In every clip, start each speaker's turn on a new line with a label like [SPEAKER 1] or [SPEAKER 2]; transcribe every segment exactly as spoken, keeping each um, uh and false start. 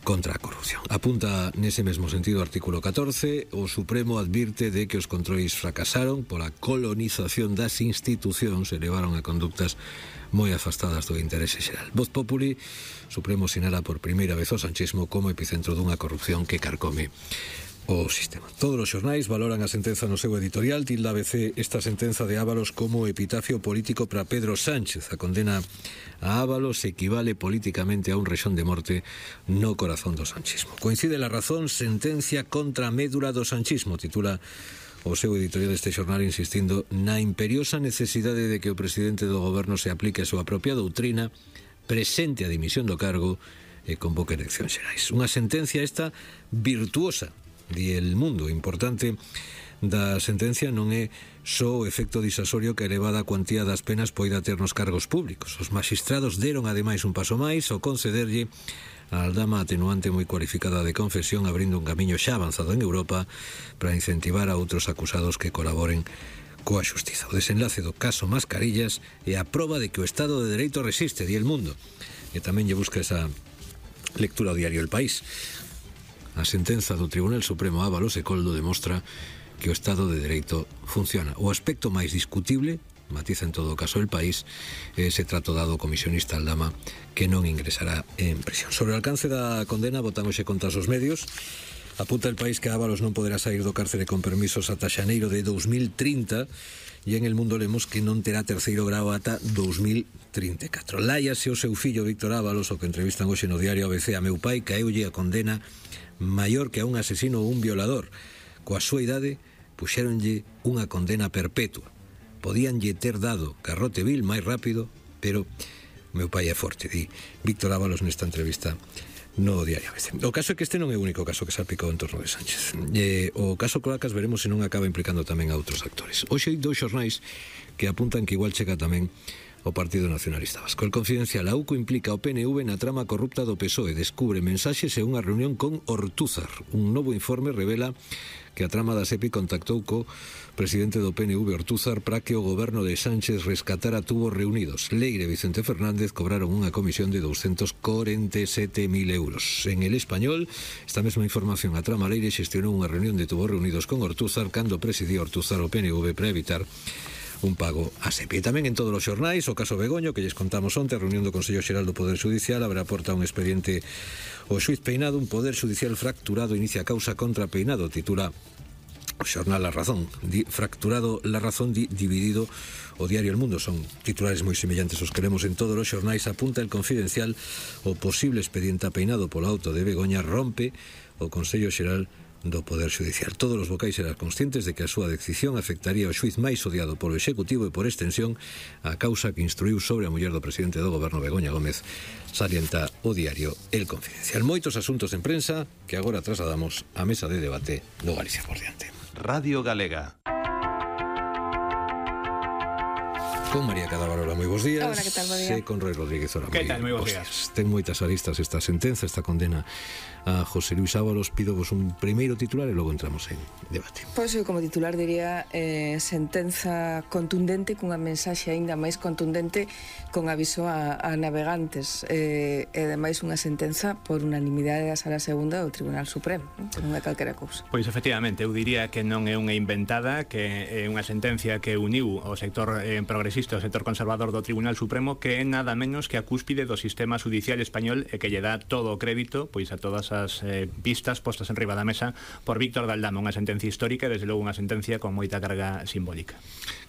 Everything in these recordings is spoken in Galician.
[SPEAKER 1] contra a corrupción. Apunta nese mesmo sentido o artículo catorce, o Supremo advirte de que os controis fracasaron pola colonización das institucións e levaron a conductas moi afastadas do interese xeral. Voz Populi, Supremo sinala por primeira vez o sanchismo como epicentro dunha corrupción que carcome o sistema. Todos os xornais valoran a sentenza no seu editorial. Tilda A B C esta sentenza de Ábalos como epitafio político para Pedro Sánchez. A condena a Ábalos equivale políticamente a un rexón de morte no corazón do sanchismo. Coincide la razón, sentencia contra a médula do sanchismo, titula o seu editorial deste xornal, insistindo na imperiosa necesidade de que o presidente do goberno se aplique a súa propia doutrina, presente a dimisión do cargo e convoque eleccións xerais. Unha sentencia esta virtuosa, di El Mundo. Importante da sentencia non é só o efecto disasorio que a elevada cuantía das penas poida ter nos cargos públicos. Os magistrados deron ademais un paso máis ao concederlle a Aldama atenuante moi cualificada de confesión, abrindo un camiño xa avanzado en Europa para incentivar a outros acusados que colaboren coa xustiza. O desenlace do caso Mascarillas é a proba de que o Estado de Dereito resiste, di El Mundo, e tamén lle busca esa lectura ao diario El País. A sentenza do Tribunal Supremo Ábalos e Coldo demostra que o Estado de Dereito funciona. O aspecto máis discutible, matiza en todo o caso El País, é ese trato dado ao comisionista Aldama, que non ingresará en prisión. Sobre o alcance da condena, votamos xe contra os medios. Apunta El País que Ábalos non poderá sair do cárcere con permisos ata xaneiro de dous mil trinta, e en El Mundo lemos que non terá terceiro grao ata dous mil trinta e catro. Láiase o seu fillo Víctor Ábalos, o que entrevistan hoxe no diario A B C. A meu pai caeulle a condena maior que a un asesino ou un violador. Coa súa idade puxéronlle unha condena perpetua. Podíanlle ter dado garrote vil máis rápido, pero meu pai é forte, di Víctor Ábalos nesta entrevista no diario A B C. O caso é que este non é o único caso que salpicou en torno de Sánchez. E, o caso Cloacas veremos se non acaba implicando tamén a outros actores. Hoxe hai dous xornais que apuntan que igual chega tamén o Partido Nacionalista Vasco. El Confidencial: a U C O implica o P N V na trama corrupta do P S O E, descubre mensaxes e unha reunión con Ortúzar. Un novo informe revela que a trama da SEPI contactou co presidente do P N V, Ortúzar, para que o goberno de Sánchez rescatara tubos reunidos. Leire e Vicente Fernández cobraron unha comisión de doscientos corenta e sete mil euros. En El Español, esta mesma información: a trama Leire xestionou unha reunión de tubos reunidos con Ortúzar cando presidía Ortúzar o P N V para evitar un pago a SEPI. E tamén en todos os xornais o caso Begoño, que lles contamos onte, a reunión do Consello Xeral do Poder Judicial abre a porta a un expediente o xuiz Peinado. Un Poder Judicial fracturado inicia causa contra Peinado, titula o xornal La Razón. Di, fracturado La Razón, di, dividido o diario El Mundo. Son titulares moi semellantes os que lemos en todos os xornais. Apunta El Confidencial: o posible expediente a Peinado polo auto de Begoña rompe o Consello Xeral do Poder Judicial. Todos os vocais eran conscientes de que a súa decisión afectaría o xuiz máis odiado polo Executivo e, por extensión, a causa que instruiu sobre a muller do presidente do goberno, Begoña Gómez, salienta o diario El Confidencial. Moitos asuntos en prensa que agora trasladamos á mesa de debate do Galicia por diante.
[SPEAKER 2] Radio Galega.
[SPEAKER 1] Con María Cadabarola, moi bons días.
[SPEAKER 3] Hola, que tal, bo día?
[SPEAKER 1] E con Roy Rodríguez, hola,
[SPEAKER 4] que tal, moi bons días.
[SPEAKER 1] Ten moitas aristas esta sentenza, esta condena a José Luis Ábalos. Pido vos un primeiro titular e logo entramos en debate.
[SPEAKER 3] Pois eu como titular diría eh, sentenza contundente, cunha mensaxe aínda máis contundente, con aviso a, a navegantes, eh, e ademais unha sentenza por unanimidade da Sala Segunda do Tribunal Supremo, que non é calquera cousa.
[SPEAKER 4] Pois efectivamente, eu diría que non é unha inventada, que é unha sentencia que uniu o sector eh, progresista, o sector conservador do Tribunal Supremo, que é nada menos que a cúspide do sistema judicial español e que lle dá todo o crédito pois a todas as eh, pistas postas en riba da mesa por Víctor de Aldama. Unha sentencia histórica e desde logo unha sentencia con moita carga simbólica.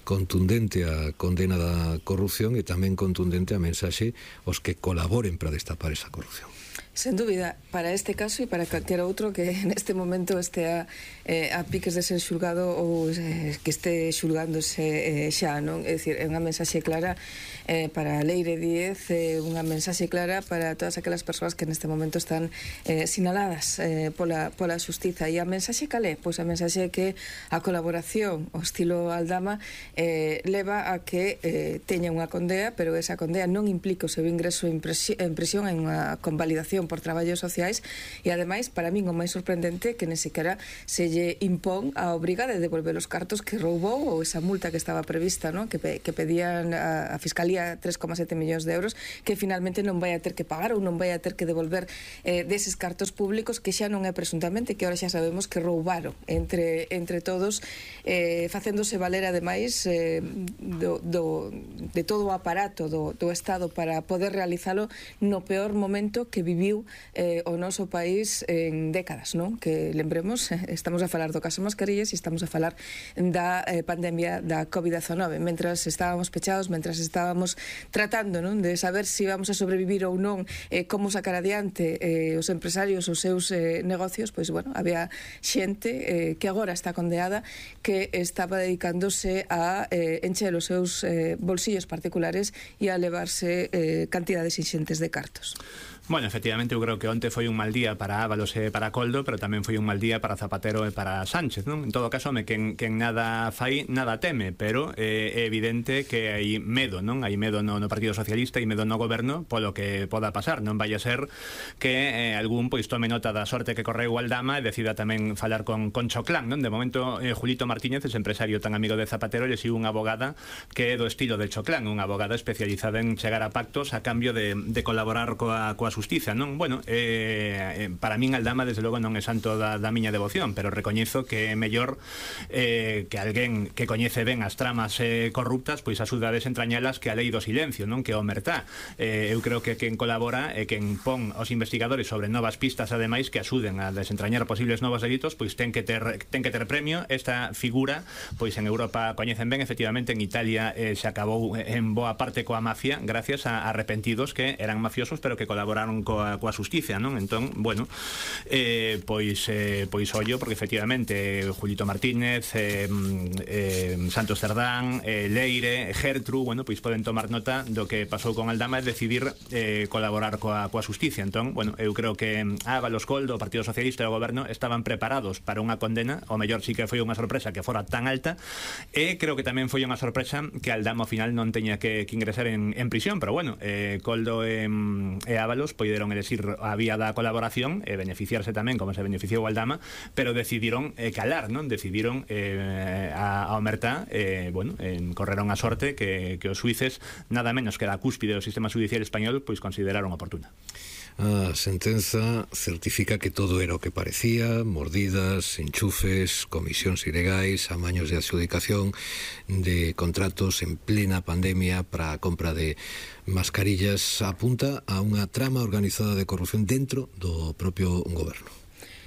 [SPEAKER 1] Contundente a condena da corrupción e tamén contundente a mensaxe aos que colaboren para destapar esa corrupción.
[SPEAKER 3] Sen dúbida, para este caso e para calquera outro que neste momento estea eh, a piques de ser xulgado ou eh, que este xulgándose eh, xa, non? É dicir, é unha mensaxe clara eh, para Leire Díez, eh, unha mensaxe clara para todas aquelas persoas que neste momento están eh, sinaladas eh, pola, pola xustiza. E a mensaxe calé? Pois a mensaxe é que a colaboración ao estilo Aldama eh, leva a que eh, teña unha condea, pero esa condea non implica o seu ingreso en prisión, en unha convalidación Fundación por Traballos Sociais, e ademais, para min o máis sorprendente que nem sequera se lle impón a obriga de devolver os cartos que roubou ou esa multa que estaba prevista, ¿no? que, pe, que pedían a, a Fiscalía tres coma sete millóns de euros, que finalmente non vai a ter que pagar ou non vai a ter que devolver eh, deses cartos públicos que xa non é presuntamente, que ahora xa sabemos que roubaron entre, entre todos, eh, facéndose valer ademais eh, do, do, de todo o aparato do, do Estado para poder realizalo no peor momento que viviu eh, o noso país en décadas, non? Que lembremos, estamos a falar do caso Mascarillas e estamos a falar da eh, pandemia da covid diecinueve. Mentras estábamos pechados, mentras estábamos tratando, non, de saber se si vamos a sobrevivir ou non, eh, como sacar adiante eh, os empresarios os seus eh, negocios, pois, bueno, había xente eh, que agora está condeada que estaba dedicándose a eh, encher os seus eh, bolsillos particulares e a levarse eh, cantidades inxentes de cartos.
[SPEAKER 4] Bueno, efectivamente, eu creo que onte foi un mal día para Ábalos e para Coldo, pero tamén foi un mal día para Zapatero e para Sánchez, non? En todo caso, me quen, quen nada fai, nada teme, pero eh, é evidente que hai medo, non? Hai medo no, no Partido Socialista e medo no goberno polo que poda pasar. Non vai a ser que eh, algún pois tome nota da sorte que correu Aldama e decida tamén falar con, con Choclán, non? De momento, eh, Julito Martínez, ese empresario tan amigo de Zapatero, le sigue unha abogada que é do estilo de Choclán, unha abogada especializada en chegar a pactos a cambio de, de colaborar coa, coa xustiza, non? Bueno, eh, para min Aldama desde logo non é santo da, da miña devoción, pero recoñezo que é mellor eh, que alguén que coñece ben as tramas eh, corruptas pois axuda a desentrañalas que a lei do silencio, non? Que o omertá. Eh, eu creo que quen colabora e quen pon os investigadores sobre novas pistas ademais que axuden a desentrañar posibles novos delitos, pois ten que ter ten que ter premio. Esta figura pois en Europa coñecen ben, efectivamente en Italia eh, se acabou en boa parte coa mafia gracias a arrepentidos que eran mafiosos pero que colaboraron coa coa xusticia, non? Entón, bueno, eh, pois eh, pois ollo, porque efectivamente Julito Martínez, eh, eh, Santos Cerdán, eh, Leire, Gertru, bueno, pois poden tomar nota do que pasou con Aldama e decidir eh, colaborar coa, coa xusticia. Entón, bueno, eu creo que Ábalos, Coldo, o Partido Socialista e o Goberno estaban preparados para unha condena, o mellor sí que foi unha sorpresa que fora tan alta, e creo que tamén foi unha sorpresa que Aldama ao final non teña que, que ingresar en, en prisión, pero bueno, eh, Coldo e, e Ábalos poideron elegir a vía da colaboración e beneficiarse tamén como se beneficiou Aldama, pero decidiron eh, calar, non? Decidiron eh, a, a omertá, eh, bueno, en, correron a sorte que, que os suíces, nada menos que da cúspide do sistema judicial español, pois consideraron oportuna.
[SPEAKER 1] A sentenza certifica que todo era o que parecía: mordidas, enchufes, comisións ilegais, amaños de adxudicación de contratos en plena pandemia para a compra de mascarillas. Apunta a unha trama organizada de corrupción dentro do propio goberno.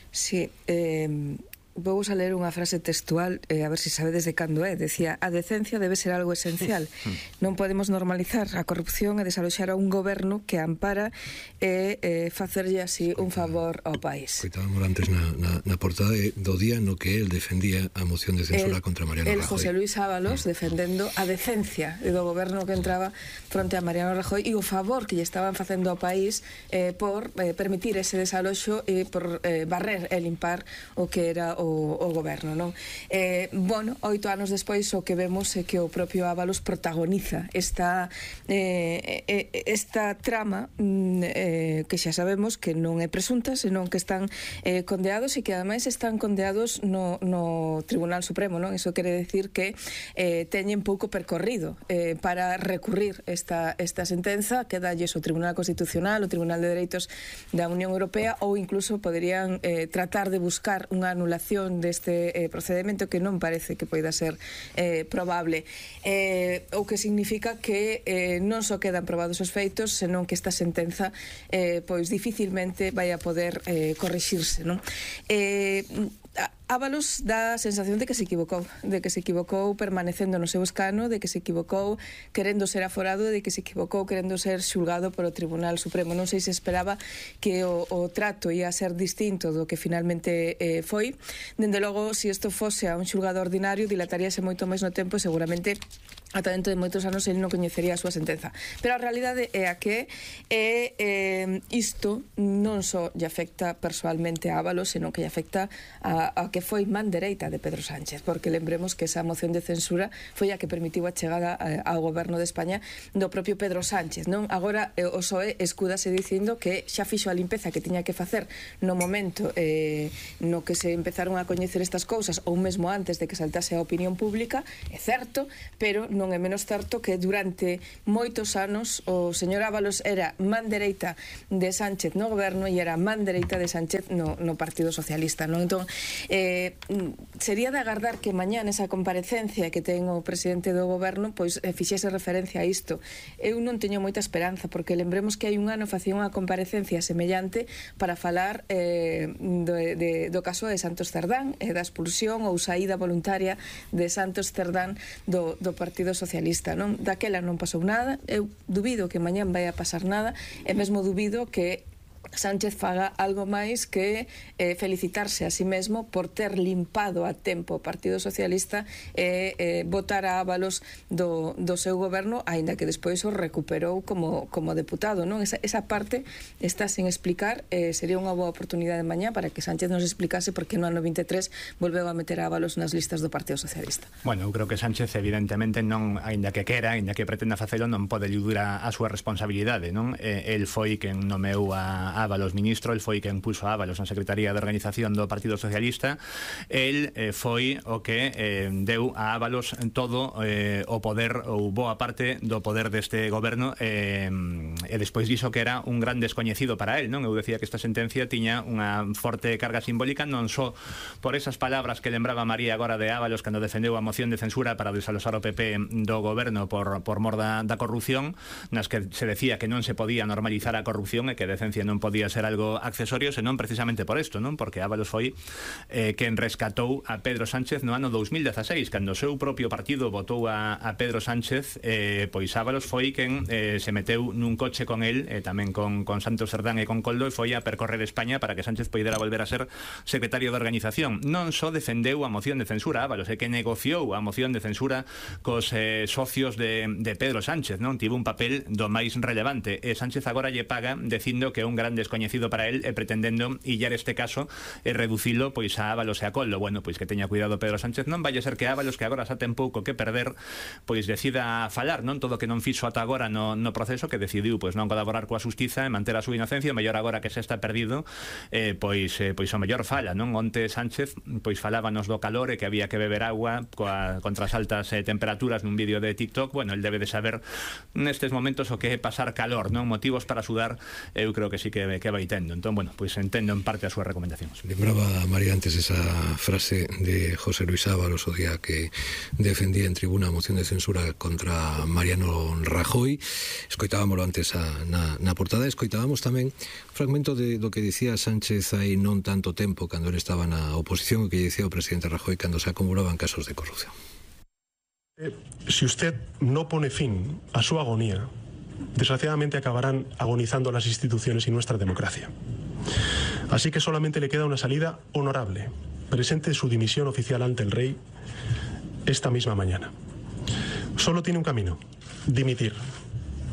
[SPEAKER 3] Sí, eh... vou a ler unha frase textual, eh, a ver se si sabedes de cando é. Decía: a decencia debe ser algo esencial. Non podemos normalizar a corrupción e desaloxar a un goberno que ampara e eh, facerlle así un favor ao país.
[SPEAKER 1] Coitábamos antes na, na, na portada do día no que él defendía a moción de censura el, contra Mariano
[SPEAKER 3] el
[SPEAKER 1] Rajoy.
[SPEAKER 3] El José Luis Ábalos mm. defendendo a decencia do goberno que entraba fronte a Mariano Rajoy e o favor que lle estaban facendo ao país eh, por eh, permitir ese desaloxo e por eh, barrer e limpar o que era o O, o goberno, non? Eh, bueno, oito anos despois o que vemos é que o propio Ábalos protagoniza esta eh, esta trama eh, que xa sabemos que non é presunta, senón que están eh, condeados e que ademais están condeados no, no Tribunal Supremo, non? Iso quere decir que eh, teñen pouco percorrido eh, para recurrir esta, esta sentenza, quedalles o Tribunal Constitucional, o Tribunal de Dereitos da Unión Europea, ou incluso poderían eh, tratar de buscar unha anulación deste eh, procedimento que non parece que poida ser eh, probable, eh, o que significa que eh, non só quedan probados os feitos, senón que esta sentenza eh, pois dificilmente vai a poder eh, corrixirse, non? Eh, Ábalos dá a sensación de que se equivocou, de que se equivocou permanecendo no seu escano, de que se equivocou querendo ser aforado, de que se equivocou querendo ser xulgado polo Tribunal Supremo. Non sei se esperaba que o, o trato ia ser distinto do que finalmente eh, foi. Dende logo, se isto fose a un xulgado ordinario, dilataríase moito máis no tempo e seguramente ata dentro de moitos anos ele non coñecería a súa sentenza. Pero a realidade é a que é, eh, isto non só lle afecta persoalmente a Ábalos, senón que lle afecta a, a que foi man dereita de Pedro Sánchez, porque lembremos que esa moción de censura foi a que permitiu a chegada ao goberno de España do propio Pedro Sánchez, non? Agora eh, o P S O E escúdase dicindo que xa fixo a limpeza que tiña que facer no momento eh, no que se empezaron a coñecer estas cousas, ou mesmo antes de que saltase a opinión pública, é certo, pero non é menos certo que durante moitos anos o señor Ábalos era man dereita de Sánchez no goberno e era man dereita de Sánchez no, no Partido Socialista, non? Entón, eh, sería de agardar que mañá nesa comparecencia que ten o presidente do goberno pois eh, fixese referencia a isto. Eu non teño moita esperanza, porque lembremos que hai un ano facía unha comparecencia semellante para falar eh, do, de, do caso de Santos Cerdán e da expulsión ou saída voluntaria de Santos Cerdán do, do Partido Socialista. Non? Daquela non pasou nada, eu dubido que mañán vai a pasar nada, e mesmo dubido que Sánchez faga algo máis que eh, felicitarse a sí mesmo por ter limpado a tempo o Partido Socialista e eh, votar a Ábalos do, do seu goberno, aínda que despois o recuperou como, como deputado, non? Esa, esa parte está sin explicar. Eh, sería unha boa oportunidade mañá para que Sánchez nos explicase por que no ano vinte e tres volveu a meter a Ábalos nas listas do Partido Socialista.
[SPEAKER 4] Bueno, eu creo que Sánchez evidentemente non, aínda que quera, aínda que pretenda facelo, non pode eludir a, a súa responsabilidade, non? Eh, el foi quen nomeou a Ábalos ministro, el foi quen puso a Ábalos na Secretaría de Organización do Partido Socialista. El eh, foi o que eh, deu a Ábalos todo eh, o poder, ou boa parte do poder deste goberno, eh, e despois diso que era un gran descoñecido para el, non? Eu decía que esta sentencia tiña unha forte carga simbólica, non só por esas palabras que lembraba María agora de Ábalos cando defendeu a moción de censura para desalosar o P P do goberno por, por mor da, da corrupción, nas que se decía que non se podía normalizar a corrupción e que a decencia non podía ser algo accesorio, senón precisamente por isto, non? Porque Ábalos foi eh, quen rescatou a Pedro Sánchez no ano dous mil dezaseis, cando o seu propio partido votou a, a Pedro Sánchez, eh, pois Ábalos foi quen eh, se meteu nun coche con el, eh, tamén con, con Santos Cerdán e con Coldo, e foi a percorrer España para que Sánchez poidera volver a ser secretario de Organización. Non só defendeu a moción de censura Ábalos, é que negociou a moción de censura cos eh, socios de, de Pedro Sánchez, non? Tivo un papel do máis relevante, e Sánchez agora lle paga dicindo que é un gran descoñecido para él, e pretendendo illar este caso e reducilo pois a Ábalos e a Coldo. Bueno, pois que teña cuidado Pedro Sánchez, non vai a ser que Ábalos, que agora xa ten pouco que perder, pois decida falar, non? Todo que non fixo ata agora no, no proceso, que decidiu pois non colaborar coa xustiza e manter a súa inocencia, o mellor agora que se está perdido, eh, pois, eh, pois o mellor fala, non? Onte Sánchez pois falábanos do calor e que había que beber agua coa, contra as altas eh, temperaturas nun vídeo de TikTok. Bueno, el debe de saber nestes momentos o que é pasar calor, non? Motivos para sudar, eu creo que sí que, que vai tendo. Entón, bueno, pois pues entendo en parte as súas recomendacións.
[SPEAKER 1] Lembraba María antes esa frase de José Luis Ábalos o día que defendía en tribuna a moción de censura contra Mariano Rajoy. Escoitábamoslo antes a, na, na portada. Escoitábamos tamén un fragmento de do que dicía Sánchez hai non tanto tempo cando ele estaba na oposición, o que dicía o presidente Rajoy cando se acumulaban casos de corrupción.
[SPEAKER 2] Eh, si usted no pone fin a su agonía, desgraciadamente acabarán agonizando las instituciones y nuestra democracia. Así que solamente le queda una salida honorable. Presente su dimisión oficial ante el rey esta misma mañana. Solo tiene un camino: dimitir.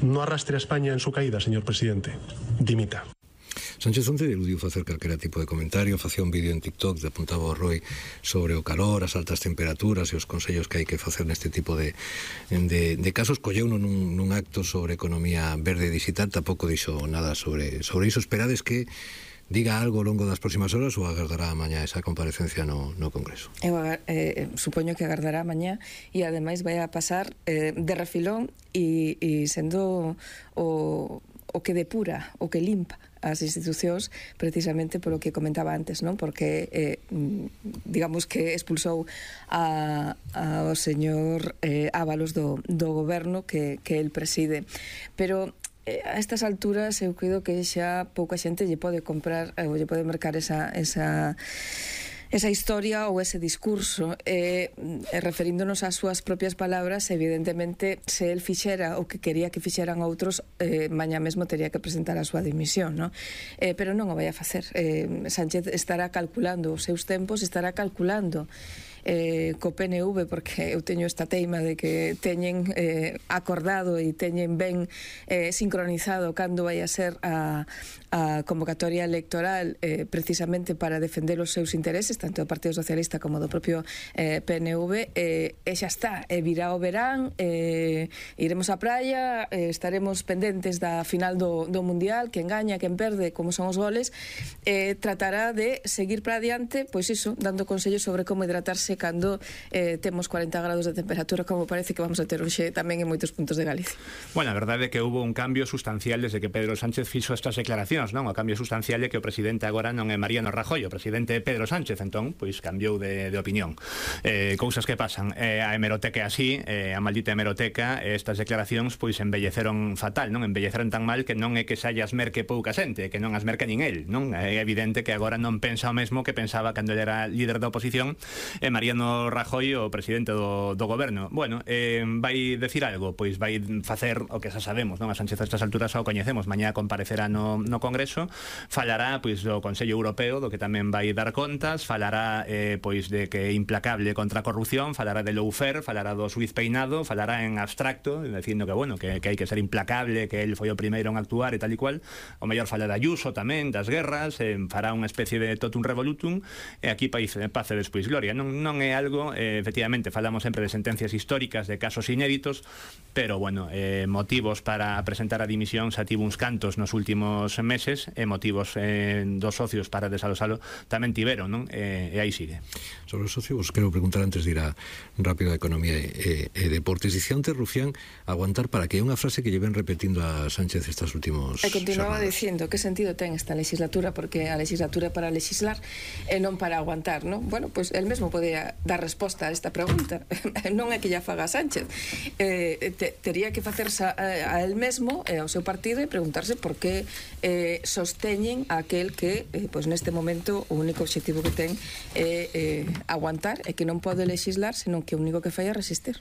[SPEAKER 2] No arrastre a España en su caída, señor presidente. Dimita.
[SPEAKER 1] Sánchez onte eludiu facer calquera tipo de comentario, facía un vídeo en TikTok de apuntaba o Roy sobre o calor, as altas temperaturas e os consellos que hai que facer neste tipo de, de, de casos. Colleuno nun, nun acto sobre economía verde digital, tampouco dixo nada sobre, sobre iso. Esperades que diga algo ao longo das próximas horas ou agardará mañá esa comparecencia no, no Congreso?
[SPEAKER 3] Eu eh, supoño que agardará mañá e ademais vai a pasar eh, de refilón e, e sendo o, o que depura, o que limpa as institucións, precisamente polo que comentaba antes, non? Porque eh, digamos que expulsou a, a o señor eh, Ábalos do, do goberno que, que el preside. Pero eh, a estas alturas eu creo que xa pouca xente lle pode comprar ou lle pode mercar esa... esa esa historia ou ese discurso, eh, referíndonos ás súas propias palabras. Evidentemente, se el fixera o que quería que fixeran outros, eh, mañá mesmo teria que presentar a súa dimisión, ¿no? Eh, pero non o vai a facer. eh, Sánchez estará calculando os seus tempos, estará calculando eh, co P N V, porque eu teño esta teima de que teñen eh, acordado e teñen ben eh, sincronizado cando vai a ser a, a convocatoria electoral eh, precisamente para defender os seus intereses, tanto do Partido Socialista como do propio eh, P N V, eh, e xa está, e virá o verán, eh, iremos á praia, eh, estaremos pendentes da final do, do Mundial, quen gaña, quen perde, como son os goles, eh, tratará de seguir para adiante, pois iso, dando consellos sobre como hidratarse cando eh, temos cuarenta grados de temperatura, como parece que vamos a ter hoxe tamén en moitos puntos de Galicia.
[SPEAKER 4] Bueno, a verdade é que houve un cambio sustancial desde que Pedro Sánchez fixo estas declaracións, non? O cambio sustancial é que o presidente agora non é Mariano Rajoy, o presidente é Pedro Sánchez, entón, pois cambiou de, de opinión. Eh, cousas que pasan. Eh, a hemeroteca é así, eh, a maldita hemeroteca, estas declaracións, pois embelleceron fatal, non? Embelleceron tan mal que non é que xa as merque pouca xente, que non as merca nin el, non? É evidente que agora non pensa o mesmo que pensaba cando ele era líder da oposición e Mariano Rajoy, o presidente do, do goberno. Bueno, eh, vai decir algo, pois vai facer o que xa sabemos, non? A Sánchez a estas alturas xa o coñecemos, mañá comparecerá no, no Congreso, falará pois do Consello Europeo, do que tamén vai dar contas, falará eh, pois de que é implacable contra a corrupción, falará de lawfare, falará do Suiz peinado, falará en abstracto, dicindo que, bueno, que, que hai que ser implacable, que el foi o primeiro en actuar e tal e cual. O mellor fala de Ayuso tamén, das guerras, eh, fará unha especie de totum revolutum, e aquí pace, pace despois gloria. Non, non é algo, eh, efectivamente, falamos sempre de sentencias históricas, de casos inéditos, pero, bueno, eh, motivos para presentar a dimisión xa tivo uns cantos nos últimos meses, e motivos eh, dos socios para desalosalo tamén tiveron, non? E, e aí sigue.
[SPEAKER 1] Sobre os socios, quero preguntar antes de ir a rápido a Economía e, e, e Deportes. Dicía antes, Rufián, aguantar para que é unha frase que lle ven repetindo a Sánchez estes últimos
[SPEAKER 3] e continuaba
[SPEAKER 1] xornadas.
[SPEAKER 3] dicindo que sentido ten esta legislatura, porque a legislatura é para legislar e non para aguantar, non? Bueno, pois pues, el mesmo podía dar resposta a esta pregunta. Non é que ya faga Sánchez, eh, te, tería que facerse a, a el mesmo e ao seu partido e preguntarse por que eh, sosteñen a aquel que eh, pois neste momento o único objetivo que ten é eh, aguantar e que non pode legislar, senón que o único que fai é resistir.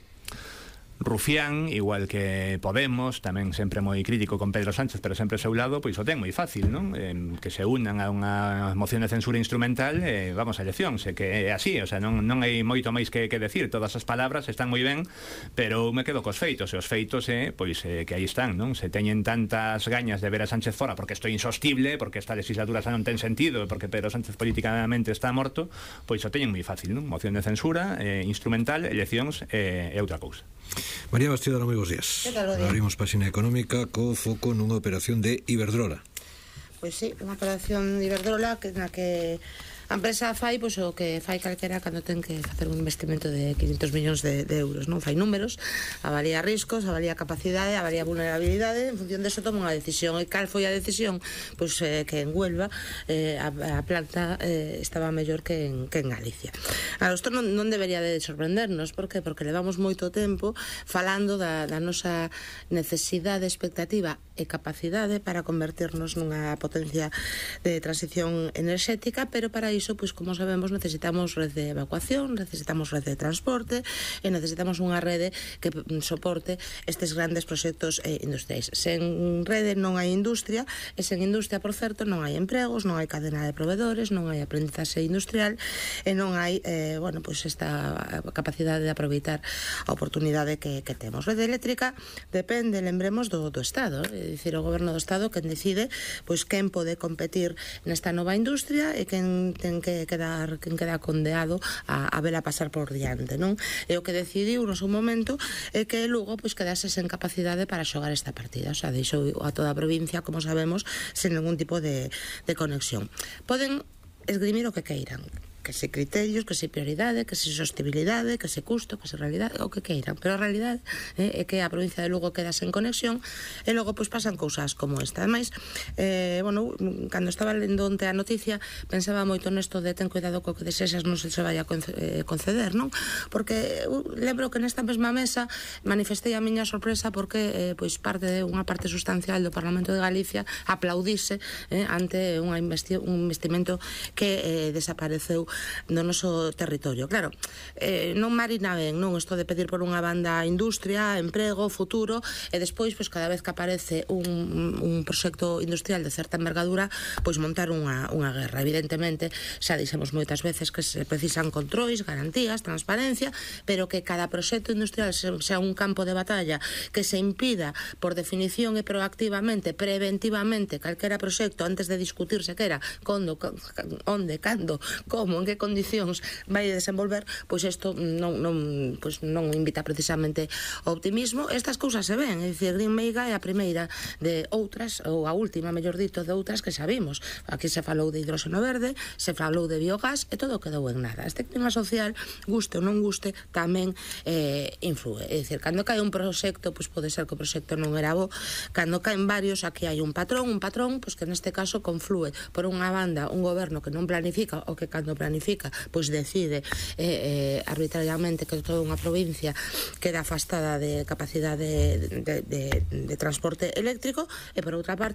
[SPEAKER 4] Rufián, igual que Podemos, tamén sempre moi crítico con Pedro Sánchez, pero sempre ao seu lado, pois o ten moi fácil, non? Eh, que se unan a unha moción de censura instrumental e eh, vamos a eleccións, e que é así, o sea, non, non hai moito máis que, que decir, todas as palabras están moi ben, pero me quedo cos feitos, e os feitos é, eh, pois, eh, que aí están, non? Se teñen tantas gañas de ver a Sánchez fora porque isto é insostible, porque esta legislatura xa non ten sentido, porque Pedro Sánchez políticamente está morto, pois o teñen moi fácil, non? Moción de censura, eh, instrumental, eleccións e eh, outra cousa.
[SPEAKER 1] María Bastida, moi bons días. Abrimos páxina económica co foco nunha operación de Iberdrola.
[SPEAKER 5] Pois sí, unha operación de Iberdrola que, na que a empresa fai pois, o que fai calquera cando ten que facer un investimento de quinhentos millóns de, de euros, non? Fai números, avalía riscos, avalía capacidade, avalía vulnerabilidade, en función deso toma unha decisión. E cal foi a decisión? Pois eh, que en Huelva eh, a, a planta eh, estaba mellor que en, que en Galicia. A isto non, non debería de sorprendernos, por que? Porque levamos moito tempo falando da, da nosa necesidade, expectativa e capacidade para convertirnos nunha potencia de transición enerxética, pero para iso, pois como sabemos, necesitamos red de evacuación, necesitamos red de transporte e necesitamos unha rede que soporte estes grandes proxectos eh, industriais. Sen rede non hai industria, e sen industria, por certo, non hai empregos, non hai cadena de proveedores, non hai aprendizaxe industrial e non hai, eh, bueno, pois esta capacidade de aproveitar a oportunidade que, que temos. Rede eléctrica depende, lembremos, do, do Estado, é dicir, o goberno do Estado quen decide pois quen pode competir nesta nova industria e quen ten que quedar quen queda condeado a, a vela pasar por diante, non? E o que decidiu no seu momento é que Lugo pois quedase sen capacidade para xogar esta partida, o sea, deixou a toda a provincia, como sabemos, sen ningún tipo de, de conexión. Poden esgrimir o que queiran, que se criterios, que se prioridade, que se sostibilidade, que se custo, que se realidade, o que queiran, pero a realidade eh, é que a provincia de Lugo queda sen conexión e logo pois pasan cousas como esta. Ademais, eh, bueno, cando estaba lendo onte a noticia pensaba moito nesto de ten cuidado co que desexas non se se vai a conceder, non? Porque uh, lembro que nesta mesma mesa manifestei a miña sorpresa porque eh, pois parte de unha parte sustancial do Parlamento de Galicia aplaudise eh, ante unha investi un investimento que eh, desapareceu no noso territorio. Claro, eh, non marina ben, non, isto de pedir por unha banda industria, emprego, futuro, e despois, pois, cada vez que aparece un, un proxecto industrial de certa envergadura, pois montar unha, unha guerra. Evidentemente, xa dixemos moitas veces que se precisan controis, garantías, transparencia, pero que cada proxecto industrial sea un campo de batalla que se impida, por definición e proactivamente, preventivamente, calquera proxecto antes de discutir sequera condo, onde, cando, como, en que condicións vai desenvolver, pois isto non, non, pois non invita precisamente ao optimismo. Estas cousas se ven, é dicir, Green Meiga é a primeira de outras, ou a última, mellor dito, de outras que sabimos. Aquí se falou de hidróxeno verde, se falou de biogás, e todo quedou en nada. Este clima social, guste ou non guste, tamén eh, influe. É dicir, cando cae un proxecto, pois pode ser que o proxecto non era bo. Cando caen varios, aquí hai un patrón, un patrón, pois que neste caso conflúe por unha banda un goberno que non planifica, ou que cando planifica, pois decide eh, eh, arbitrariamente que toda unha provincia queda afastada de capacidade de, de, de, de transporte eléctrico, e por outra parte